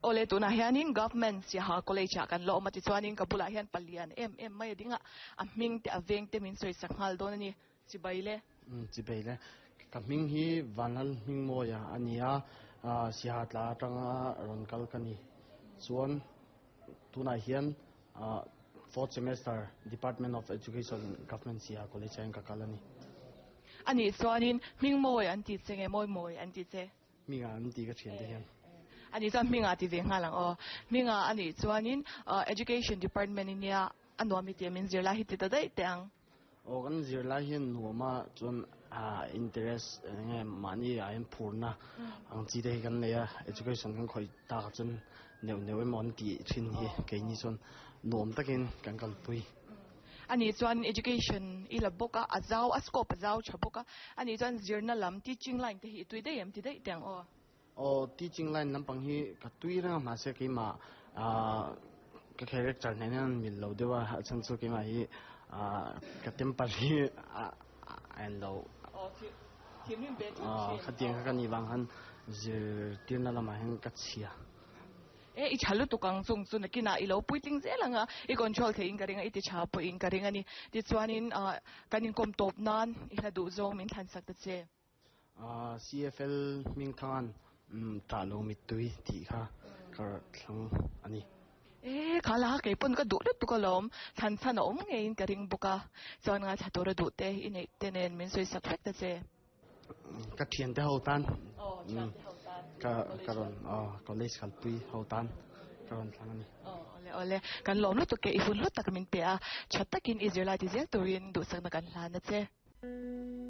Awle tunah hianin Government Siaha College ah kan la awm a tichuanin ka bulah hian palian em em mai a ding a, a hming te a veng te min sawi sak nghal dawn a ni. Chibai le. Umm chibai le. Ka hming hi Vanlal Hmingmawia a ni a, Siaha tla atanga rawn kal ka ni. Chuan tunah hian fourth semester Department of Education Government Siaha College ah hian ka kal a ni. A nih chuanin Hmingmawi an ti che nge Mawimawi an ti che? Hminga an ti ka thian te hian. A nih chuan Hminga ti ve nghal ang aw. Hminga a nih chuanin Education Department i nia a nuam i tih min zir lai hi ti ta daih teh ang. Aw kan zir lai hian nuam a chuan interest eng nge mahni ah hian phurna ang chi te hi kan nei a, education kan khawih tak chuan neuh neuh emaw an tih thin hi keini chuan nuam takin kan kalpui. A nih chuan education i la bawk a, a zau, a scope a zau tha bawk a. A nih chuan zirna lam, teaching line te hi i tui daih em ti daih teh ang aw? Aw, teaching line lampang hi ka tui reng a, mahse keimah ah ka character nen hian an mil lo deuh a, a chhan chu keimah hi ah ka temper hi a a en lo. Aw, thinrim ve thut thin. Aw, khatiang kha ka nih vang khan zirtirna lamah hian ka chhia. E, i tha lutuk ang chung chu nakinah i lo puitling zel ang a, i control theihin ka ring a, i ti tha pawhin ka ring a ni. Tichuanin kan inkawm tawp nan i hla duh zawng min thlansak ta che. CFL hming khan tah lo mittui tih kha ka thlang a ni. E, kha la kei pawn ka duh lutuk alawm, thlan chhan a awm ngeiin ka ring bawk a, chuan ngaithla tura duh te i neih te nen min sawisak vek ta che. Ka thiante ho tan ka ka rawn college kalpui ho tan ka rawn thlang a ni. Awle awle kan lawm lutuk e i hun hlu tak min pe a, tha takin i zirlai ti zel turin duhsakna kan hlan a che.